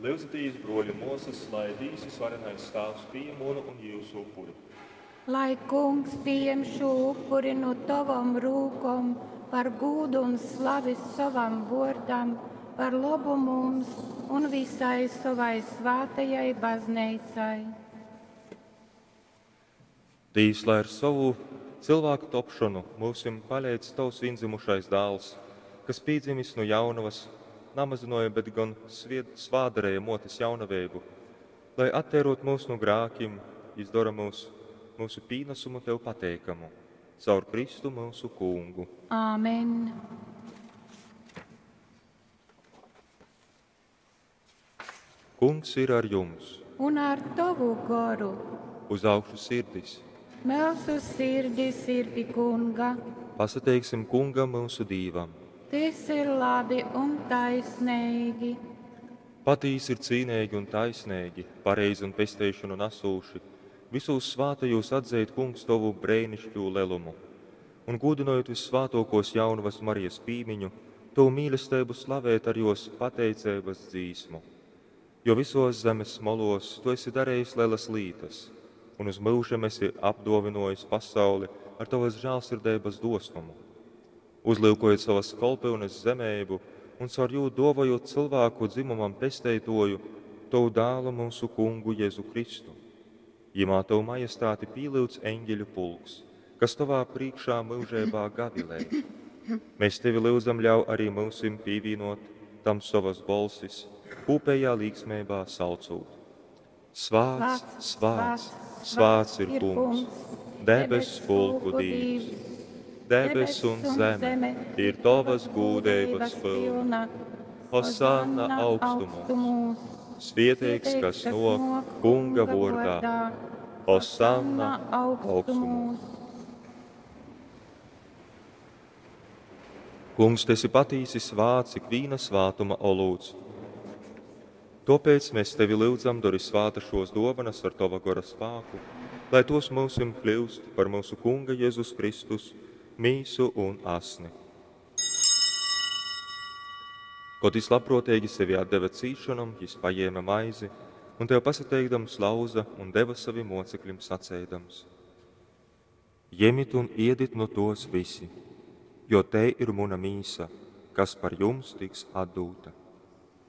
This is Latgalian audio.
Lyudzitīs, bruoļi un muosys, lai Dīvs Vysvarenais Tāvs pījem munu un jiusu upuri. Lai Kungs pījem šū upuri nu tovom rūkom par gūdu un slavi sovam vōrdam, par lobu mums un visai sovai svātajai bazneicai. Dīvs, lai ar sovu cylvāku topšonu myusim paleidz Tovs vīndzymušais Dāls, kas pīdzimis nu jaunovas, namazynuoja, bet gon svied, svādarēja muotes jaunaveibu, lai atteirot mūs nu grākim, jis dora mūs, mūsu pīnasumu Tev pateikamu. Caur Kristu mūsu Kungu. Āmen. Kungs ir ar jums. Un ar tovu goru. Uz augšu sirdis. Mūsu sirdis ir pi Kunga. Pasateiksim Kungam mūsu Dīvam. Tys ir labi un taisneigi. Patīsi ir cīneigi un taisneigi, pareizi un pesteišonu nasūši, visūs svātajūs atzeit, Kungs, tovu breinišķū lelumu. Un gūdynojot vyssvātōkōs jaunavas Marijas pīmiņu, tovu mīlesteibu slavēt ar jos pateiceibas dzīsmu. Jo visos zemes molos tu esi darējis lelas lītas, un uz myužam esi apdōvinojis pasauli ar tovas žālsirdeibas dosnumu. Uzlyukojot sovas kolpyunes zemeibu un caur jū dōvojot cylvāku dzimumam pesteitoju, tovu dālu mūsu Kungu Jēzu Kristu. Jimā tovu majestāti pīlyudz eņģeļu pulks, kas tovā prīkšā myužeibā gavilē. Mēs tevi lyudzam ļauj arī myusim pīvīnot tam sovas bolsis, kūpējā līksmeibā saucūt. Svāts, svāts, svāts ir Kungs, debess pulku Dīvs. Debess un zeme ir tovas gūdeibas pilna. Hosanna augstumos! Svieteigs, kas nok Kunga vōrdā. Hosanna augstumos! Kungs, tu esi patīsi svāts, ikvīna svātuma olūts. Tōpēc mēs tevi lyudzam, dori svāta šos dōvanas ar tova gora spāku, lai tos mūsim kļūst par mūsu Kunga Jēzus Kristus mīsu un asni. Kod jis labprōteigi sevi atdeva cīšanom, jis pajēma maizi un tev pasateikdams lauza un deva savim mocekļim saceidams: Jemit un iedit nu tos visi, jo te ir muna mīsa, kas par jums tiks atdūta.